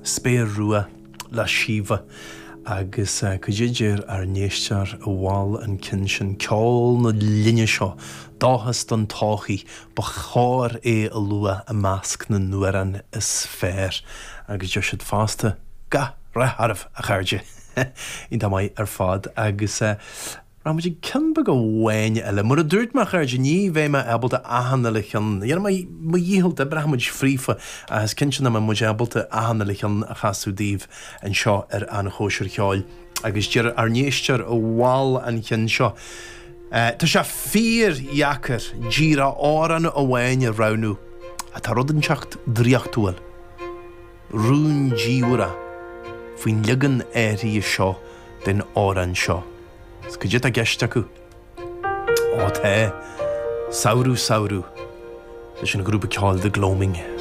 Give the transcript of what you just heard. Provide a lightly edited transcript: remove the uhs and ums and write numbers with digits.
Spéir Rua le Síomha agus cad é deir ár n-éisteoir a mhol an ceann sin, ceol na linne seo, dóchas don todhchaí, ba chóir é a lua i measc na n-amhrán is fearr. Agus deir siad fosta, gach rath oraibh, a chairde! Iontach maith ar fad agus. Rachaidh muid ag ceann beag amháin eile. Mar a dúirt mé, a chairde, ní bheidh mé ábalta achan uile cheann, dhéanfaidh mé mo dhícheall, oibreoidh muid fríofa, ach is cinnte nach mbeidh muid ábalta achan uile cheann a chasadh daoibh anseo ar An Chóisir Cheoil. Agus deir ár n-éisteoir a mhol an ceann seo, Tá sé fíor-dheacair díreach amhrán amháin a roghnú, ach tá rud inteacht draíochtúil, rúndiamhrach faoin leagan áirithe seo den amhrán seo. Is cad é atá i gceist acu? Ó tá. Samhradh Samhradh leis an ghrúpa ceoil The Gloaming.